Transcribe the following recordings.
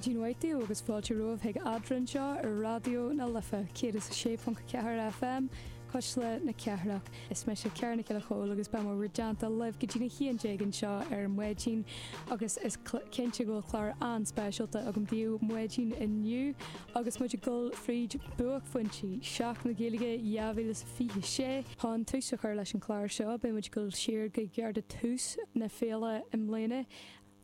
Maidin mhaith daoibh agus fáilte romhaibh chuig Eadrainn anseo ar Raidió na Life 106.4 FM, Cuisle na Cathrach. Is mise Ciara Nic Giolla Chóill agus beidh mé bhur dteannta libh go dtí'n 11 anseo ar maidin agus is cinnte go bhfuil clár an-speisialta agam daoibh maidin inniu agus muid ag dul fríd buaicphointí Sheachtain na Gaeilge 2026. Chun tús a chur leis an chlár seo beidh muid ag dul siar go gar do tús na féile i mbliana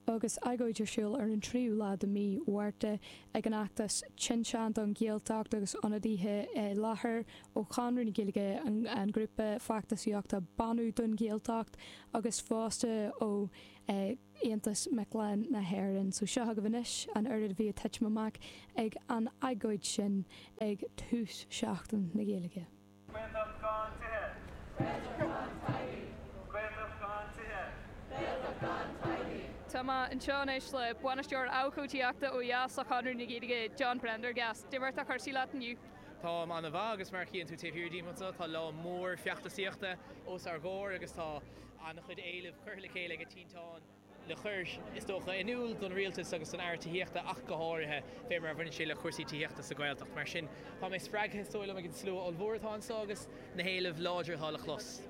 agus agóid ar siúl ar an tríú lá de mhí Mhárta ag an fheachtas Tinteán don Ghaeltacht agus ionadaithe i láthair ó Chonradh na Gaeilge, an grúpa feachtasaíochta Beannú don Ghaeltacht agus fosta ó Aontas Mic Léinn na hÉireann. So seo agaibh anois an oiread a bhí ag titim amach ag an agóid sin ag tús Sheachtain na Gaeilge. Gaeltacht gan tithe. Gaeltacht gan teaghlaigh. Gaeltacht gan tithe. Gaeltacht gan teaghlaigh. Tá mé anseo anois le Bainisteoir Abhcóidíochta ó dheas le Conradh na Gaeilge, John Prendergast. Cad é mar atá cúrsaí leat inniu? Táim an-mhaith agus mar a chíonn tú taobh thiar díom anseo tá lá mór feachtasaíochta os ár gcomhair agus tá an-chuid éileamh curtha le chéile ag Tinteán. le cur, is dócha, in iúl don Rialtas agus don Aire Tithíochta ach go háirithe, fé mar a bhaineann sé le cúrsaí tithíochta sa Ghaeltacht. Mar sin, tá mé spreagtha, is dóigh liom, ag an slua ollmhór atá anseo agus na héilimh láidre atá le clos.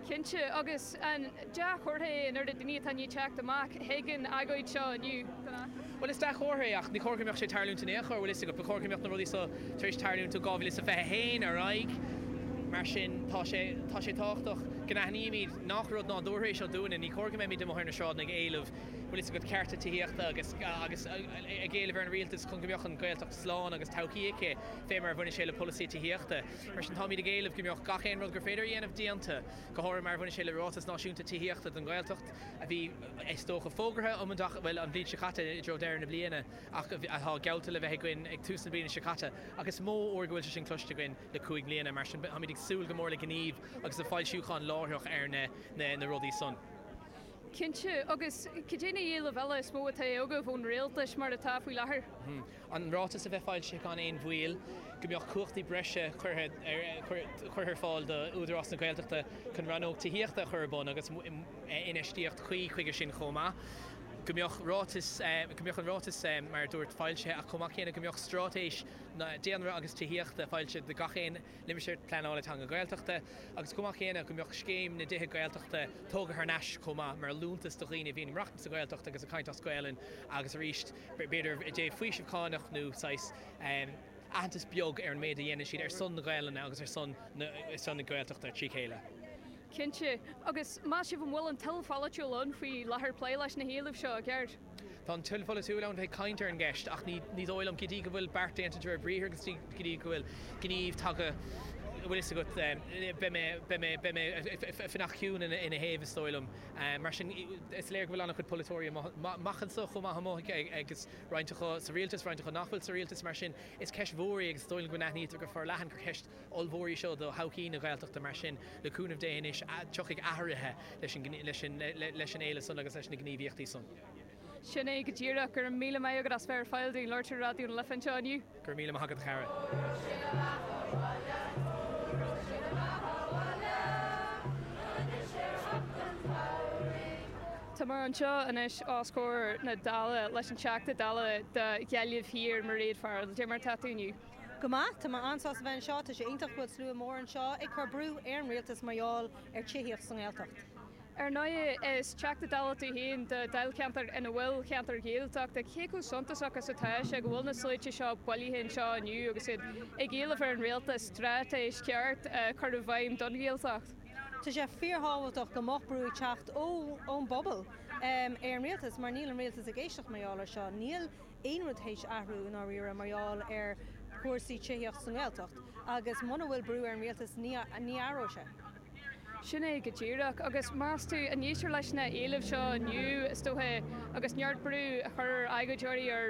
Cinnte, agus an dea-chomhartha é an oiread daoine atá i ndiaidh teacht amach chuig an agóid seo inniu don fheachtas? Bhuel, is dea-chomhartha é ach ní chóir go mbeadh sé ag tarlúint in aon chor, bhfuil fhios agat. Ba chóir go mbeadh na rudaí seo tar éis tarlúint ó 2021 ar aghaidh. Mar sin, tá sé, tá sé tábhachtach go n-aithnímid nach rud nádúrtha é seo dúinne. Ní cóir go mbeimid amuigh ar na sráideanna ag éileamh, bhfuil fhios agat, cearta tithíochta agus agus ag éileamh ar an rialtas chun go mbeadh an Ghaeltacht slán agus todhchaí aici fé mar a bhaineann sé le polasaí tithíochta. Mar sin, táimid ag éileamh go mbeadh gach aon rud gur féidir a dhéanamh déanta, go háirithe mar a bhaineann sé le Ráiteas Náisiúnta Tithíochta don Ghaeltacht a bhí, is dócha, fógartha um an bhuel, an bhliain seo caite i dtreo deireadh na bliana ach atá geallta le bheith againn ag tús na bliana seo caite ach is mó uair go bhfuil sé sin cloiste againn le 5 mbliana. Mar sin, táimid ag súil go mór le gníomh agus le foilsiúchán láithreach ar na rudaí san. Cinnte. Agus cad é na héilimh eile is mó atá agaibh ón rialtas mar atá faoi láthair? An ráiteas a bheith foilsithe gan aon mhoill, go mbeadh cumhachtaí breise curtha ar fáil do Údarás na Gaeltachta chun rannóg tithíochta a chur ar bun agus infheistíocht chuí chuige sin chomh maith. Go mbeadh ráiteas, go mbeadh an ráiteas mar a dúirt foilsithe ach chomh maith céanna go mbeadh straitéis daonra agus tithíochta foilsithe do gach aon Limistéar Pleanála Teanga Gaeltachta agus chomh maith céanna go mbeadh scéim na dtithe Gaeltachta tógtha thar n-ais chomh maith mar liúntas do dhaoine a bhíonn ag maireachtaint sa Ghaeltacht agus ag caint as Gaelainn agus arís b'fhéidir i dtaobh faoiseamh cánach nó saghas aitheantas beag ar an méid a dhéanann siad ar son na Gaelainne agus ar son na Gaeltachta trí chéile. Cinnte. Agus meas sibh an bhfuil an toil pholaitiúil ann faoi láthair plé leis na héilimh seo i gceart? Tá an toil pholaitiúil ann bheith ag caint ar an gceist ach ní dóigh liom, go dtí go bhfuil beart déanta de réir briathair agus go dtí go bhfuil gníomh tagtha, bhfuil fhios agat, beidh mé, beidh mé, beidh mé ag fanacht ciúin ina thaobh is dóigh liom. Mar sin, is léir go bhfuil an-chuid polaiteoirí amach anseo chomh maith amuigh agus roinnt acu sa rialtas, roinnt acu nach bhfuil sa rialtas. Mar sin, is ceist mhór í agus is dóigh liom go n-aithnítear go forleathan gur ceist ollmhór í seo do thodhchaí na Gaeltachta. Mar sin, le cúnamh Dé anois, tiocfaidh athruithe leis an leis an éileamh san agus leis na gníomhaíochtaí san. Sin é go díreach. Go raibh míle maith agat as bheith ar fáil dúinn labhairt ar Raidió na Life anseo inniu. Go raibh míle maith agat a chara. Tá mé anseo anois os comhair na Dála leis an Teachta Dála do Ghaillimh Thiar, Mairéad Farrell. Cad é mar atá tú inniu? Go maith, tá mé an-sásta bheith anseo. Tá sé iontach go bhfuil slua mór anseo ag cur brú ar an rialtas mar gheall ar tithíocht sa nGaeltacht. Ar ndóigh, is Teachta Dála tú féin do dáilcheantar ina bhfuil ceantar Gaeltachta. Cé chomh suntasach is atá sé go bhfuil na sluaite seo bailithe anseo inniu agus iad ag éileamh ar an rialtas straitéis cheart a chur i bhfeidhm don Ghaeltacht? Tá sé fíorthábhachtach go mbeadh brú ag teacht ón bpobal ar an rialtas mar níl an rialtas ag éisteacht mar gheall ar seo. Níl aon rud théis athrú i ndáiríre mar gheall ar chúrsaí tithíocht sa nGaeltacht agus muna bhfuil brú ar an rialtas ní athróidh sé. Sin é go díreach. Agus meas tú an éistear leis na héilimh seo inniu, is dócha, agus neart brú a chur ar agóideoirí ar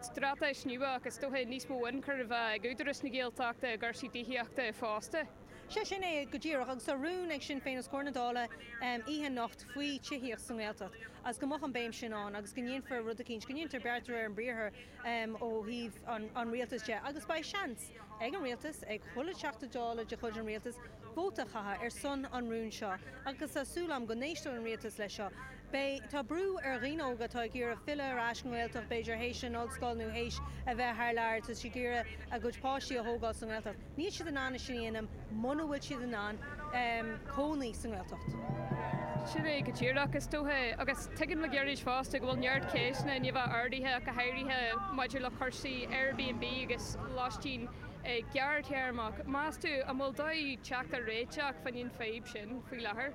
straitéis nua ach is dócha níos mó ionchur a bheith ag Údarás na Gaeltachta i gcúrsaí tithíochta fosta? Sea, sin é go díreach. Agus tá rún ag Sinn Féin os comhair na Dála oíche anocht faoi tithíocht sa nGaeltacht agus go mbeadh an béim sin ann agus go ndéanfar rud eicínt, go ndéantar beart de réir an briathair ó thaobh an rialtais de. Agus beidh seans ag an rialtas, ag chuile Teachta Dála de chuid an rialtais, vóta a chaitheamh ar son an rúin seo agus tá súil agam go n-éisteoidh an rialtas leis seo. Beidh, tá brú ar dhaoine óga atá ag iarraidh filleadh ar ais go nGaeltacht, b'fhéidir théis an ollscoil nó théis a bheith thar lear, tá siad ag iarraidh a gcuid páistí a thógáil sa nGaeltacht. Níl siad in ann é sin a dhéanamh muna bhfuil siad in ann cónaí sa nGaeltacht. Sin é go díreach, is dócha, agus tuigim le gairid fosta go bhfuil neart ceisteanna i ndiaidh a bheith ardaithe ach go háirithe maidir le cúrsaí Airbnb agus lóistín gearrthéarmach. Meas tú an bhfuil dóigh teacht ar réiteach fán fhadhb sin faoi láthair?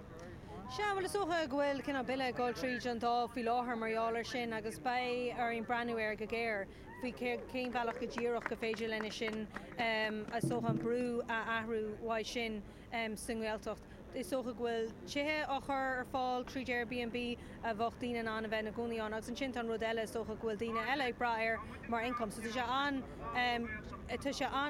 Sea, bhuel is dócha go bhfuil cineál bille ag dul tríd an Dáil faoi láthair mar gheall air sin agus beidh orainn breathnú air go géar faoi cén bhealach go díreach go féidir linn é sin, is dócha an brú a athrú uaidh sin sa nGaeltacht. Is dócha go bhfuil tithe á chur ar fáil tríd Airbnb a bheadh daoine in ann a bheith ina gcónaí ann agus ansin tá an rud eile is dócha go bhfuil daoine eile ag brath air mar income so tá sé an, tá sé an.